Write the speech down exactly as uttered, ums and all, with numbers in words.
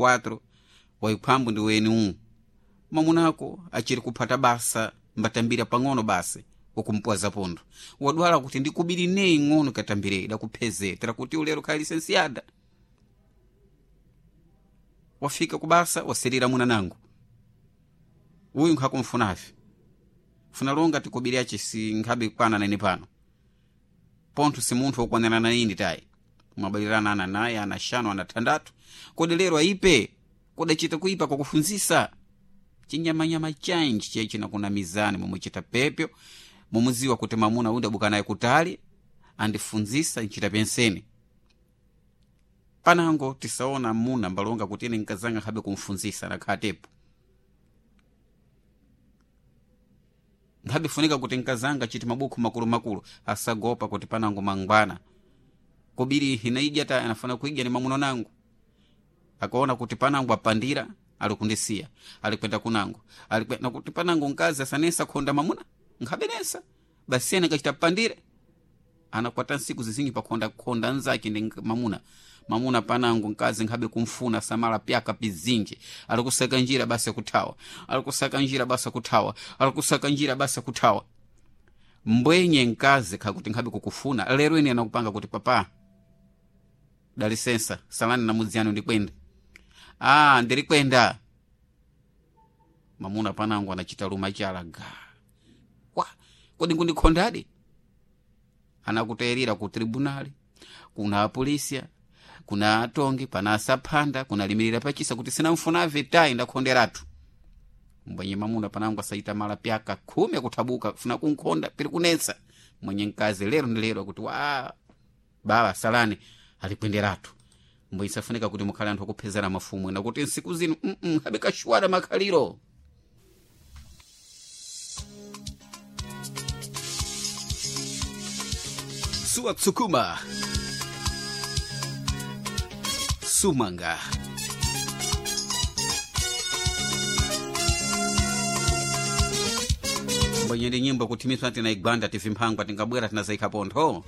quatro waiphwambo ndi weni um mamunako achiri kuphata basa mbatambira pang'ono basi ukumpwaza pontho wadwala kuti ndikubiri neyi ng'ono katambire idakupheze tera kuti ulero khali lisensiada wafika kubasa wasilira munanango uyu nkhakumfunafe funa longa tikubiri aci sinkhabe kwana nene pano pontho si munthu wokwanirana na ine tayi mwabalirana ana naye ana xanu ana thandatu kodi lero ayipe kodacita kuipa kwakufunzisa chinyamanyama chanji chiye chinakunamizani mumuchita pepyo mumuziwa kuti mamuna uyu ndabuka naye kutali andifunzisa nchita penseni panango tisaona muna mbalonga kuti ine nkazanga nkhabe kumfunzisa nakhatepo nkhabe funika kuti nkazanga chiti mabukhu makulumakulu asagopa kuti panango mangwana kobiri inaidya ta anafuna kuidya ni mamuno nangu akaona kuti panango apandira alikundisiya alikwenda kunango alikwenda kuti panango nkazi asanesa khonda mamuna nkhabenesa basi ene kachita pandire anakwata nsiku zizinji pakhonda khonda nzake ndi mamuna mamuna panango nkazi nkhabe kumfuna samala pyaka pizinji alikusaka njira basi akuthawa alikusaka njira basi akuthawa alikusaka njira basi akuthawa mbwenye nkazi khakuti nkhabe kukufuna lero ine anakupanga kuti papa dalisensa salani na mudzi anu ndikwenda ah ndiri kwenda mamuna panango anachita luma chala ga wa kodi nkundikhondadi anakutayirira ku tribunali kuna apolisia kuna atongi pana asaphanda kuna limirira pachisa kuti sinamfunave tayi ndakhonderatu mbwenye mamuna panango asaita mala pyaka khumi akuthabuka funa kunkhonda piri kunetsa mwenye mkazi lero ndi lero akuti wa baba salani alikwenderatu mbwe isafunika kuti mukhale anthu akuphezana mafumu ena kuti nsiku zino mm -mm, habe kashuwada makhaliro Sua Tsukuma Sumanga mbwenye ndi nyimbo kuthimiswa tinaigwanda tivimphangwa tingabwera tinazaikha pontho